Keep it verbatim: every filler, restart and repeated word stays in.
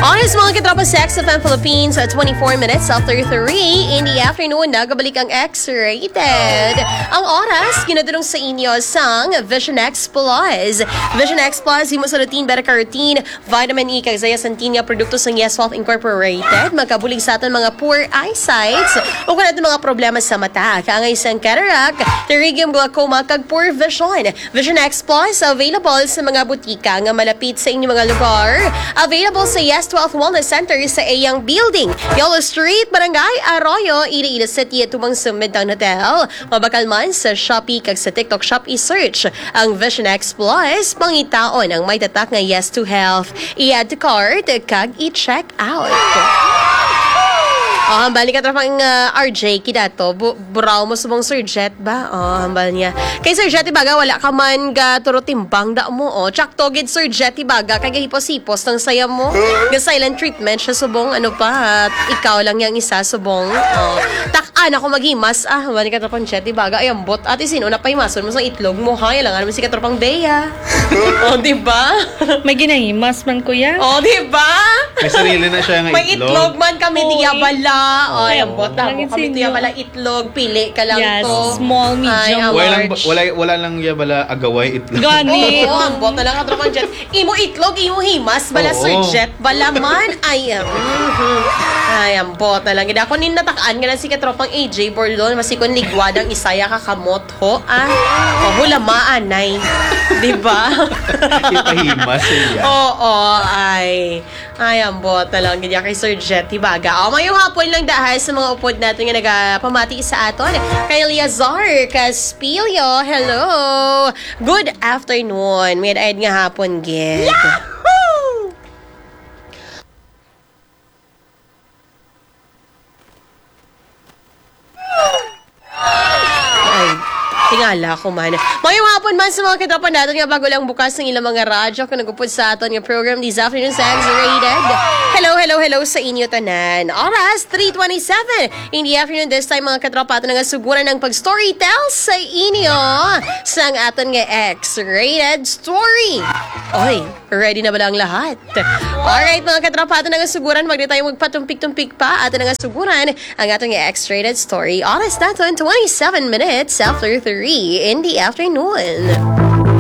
Oras, mga katropa, sa X F M Philippines, at twenty-four minutes after three in the afternoon, nagabalik ang X-Rated. Ang oras, ginadulong sa inyo sang Vision X Plus. Vision X Plus, himo sa routine, better ka routine, vitamin E, kag zeaxanthine nga produkto sang Yes Health Incorporated. Makabulig sa aton mga poor eyesight o kung aton mga problema sa mata, kaangay sang cataract, pterygium, glaucoma, kag poor vision. Vision X Plus available sa mga butika nga malapit sa inyong mga lugar. Available sa Yes Twelve Wellness Center sa Eyang Building, Yellow Street, Barangay Arroyo, Iloilo City, tumang sa Midtown Hotel. Mabakal man sa Shopee kag sa TikTok Shop, i-search ang Vision X Plus. Pangitaon ang may tatak nga Yes to Health. I-add to cart kag i-check out. Oh, hambal ni katropang, ah, R J Kidato, bu- buraw mo subong Sir Jet ba? Oh, hambal niya. Kay Sir Jet, ibaga, wala ka man ga turo timbang da mo, oh. Tsakto gid, Sir Jet, ibaga, kay gahipos-hipos ng saya mo. Ga silent treatment siya subong, ano pa, at ikaw lang yang isa subong. Oh. Tak-an ako maghimas, ah, hambal ni katropang Jet, ibaga, ay, ambot. Ate, sino na pahimason mo sa itlog mo, ha? Yalangan mo si katropang Bea. Oh, di ba? May ginahimas man, kuya. Oh, di ba? May sarili na siya nga May itlog man kami, Oo, diya eh. bala. Ay, Oo. ang bota mo Nangin kami, sinyo. diya bala itlog, pili ka lang Yes, to. small, medium, Ay, ang Wala lang, large. wala, wala lang iya bala agaway itlog. Gani. Oo, ang bota lang katropang Jet. Imo itlog, imo himas, bala Oo. Sir Jet, bala man. Ay, ah, mhm. Ay, ang bota lang. Gid ako nin natakaan nga lang si katropang A J Borlon, masikon ligwad ang isaya ka kamot, ho, ah. O, hulamaan, nay. Di ba? Ipahimas iya. Oo, ay. Ay, ambot na lang gid kay Sir Jet Hibaga. O, mayong hapon lang dahil sa mga upod natin nga nagapamati sa aton. Kay Eliazar Caspillo, hello. Good afternoon. May nga hapon gid. Ay, tingala ko man. Mayong hapon man sa mga katropa natin nga bago lang bukas ng ilang mga radyo kung nagupod sa aton nga program this afternoon sa X-Rated. Hello, hello, hello sa inyo tanan. Oras, three twenty-seven in the afternoon this time, mga katropa, ato na nga suguran ang pag-storytell sa inyo sang aton nga X-Rated story. Oy, ready na ba ang lahat? Alright, mga katropa, ato na nga suguran. Wag na tayo magpatumpik-tumpik pa. Ato na nga suguran ang aton nga X-Rated story. Oras naton, twenty-seven minutes after three in the afternoon.